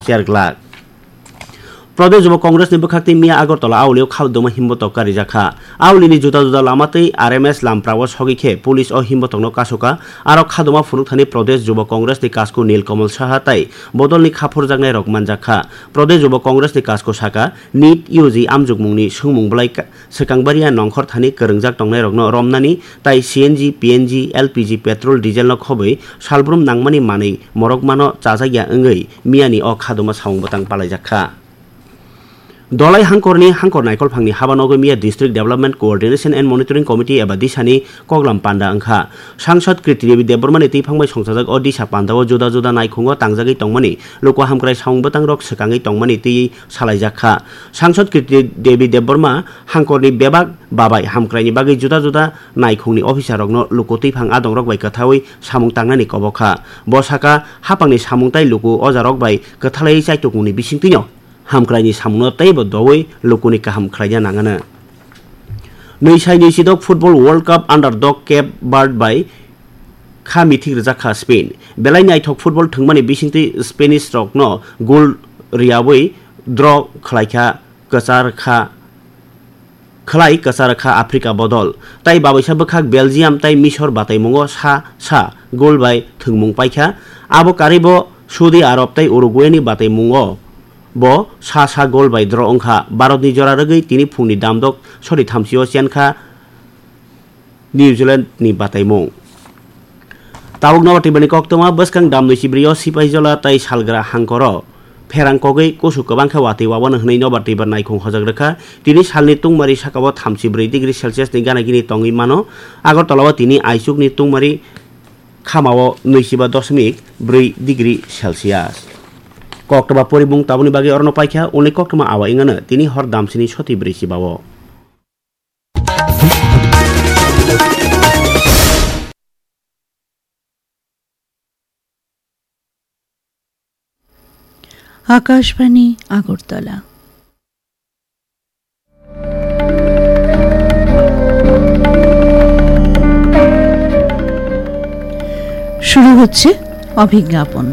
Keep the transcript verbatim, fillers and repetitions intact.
cher glak. Pradesh Yuba Congress ni bwkhak twi miya Agartala aulio khadoma himbotok karijak kha. Aulini juda juda lama tei R M S lamprao sogwi khe police o himbotokno kasu kha. Aro khadoma phunukthani Pradesh Yuba Congress ni kasku Nilkamal Saha tei bodolni kha phurjaknai rok manjak kha. Pradesh Yuba Congress ni kasku saka, nit U G amjokmungni swngmung bwlai ka-, swkang baria nongkhor thani kwrwngjak tongnairokno romnani tai C N G, P N G, L P G, petrol, diesel no khobwi salbrum nangmani manwi morokmano chajakya wngwi miyani o khadoma samung bwtang palaijak kha. Dolai hangkorni hangkor naikolphangni habanogo miya District Development Coordination and Monitoring Committee eba disani koklam panda wngkha. Sangsad Kirti Devi Debbarmani twiphang bai songchajak o disa pandao juda juda naikhungo tangjagwi tongmani luku hamkrai samung bwtangrok swkangwi tongmani twiwi salaijak kha. Sangsad Kirti Devi Debbarma hangkorni bebak babai hamkraini bagwi juda juda naikhungni officerrokno luku twiphang adongrok bai kwthawi samung tangnani kobok kha. Bo saka, hapangni samung tai luku ojarok bai kwthalaiwi chaitukmungni bisingtwino hamkraini samungno teibo doui lukuni kaham khlaina nangano. Nwi sai nwi sidok Football World Cup under dog Cape Verde bai kha mithik rijak kha Spain. Belai naithok football thwngmani bisingtwi Spanish rokno goal riyaui draw khlaikha kwchar kha, khlai kwchar kha Africa bodol. Tai babaisa bwkhak Belgium tai Misor bataimungo sa sa goal bai thwngmung paikha. Abo karwibo Saudi Arab tai Uruguay ni bataimungo bo sa sa goal bai draw wngkha. Bharat ni jora rwgwi tini phungni damdok sori thamsio chenkha New Zealand ni bataimung. Tabuk Nobar Twibar ni koktwma bwskang dam nwi sibrio Sipaijola tai Salgra hangkoro pherang kogwi kusu kwbang khe watwi wabano hwnwi Nobar Twibar naikhung hojak rwkha. Tini salni tungmari sakao thamchi bwrwi degree Celsius ni gana gini tongwi mano. Agartala o tini aichukni tungmari khamao nwi siba dosmik bwrwi degree Celsius. Koktwma porimung tabukni bagwi orono paikha, uni koktwma awa wngano tini hor damsini soti bwrwi sibao. Akashvani আগরতলা। শুরু হচ্ছে অভিজ্ঞাপন।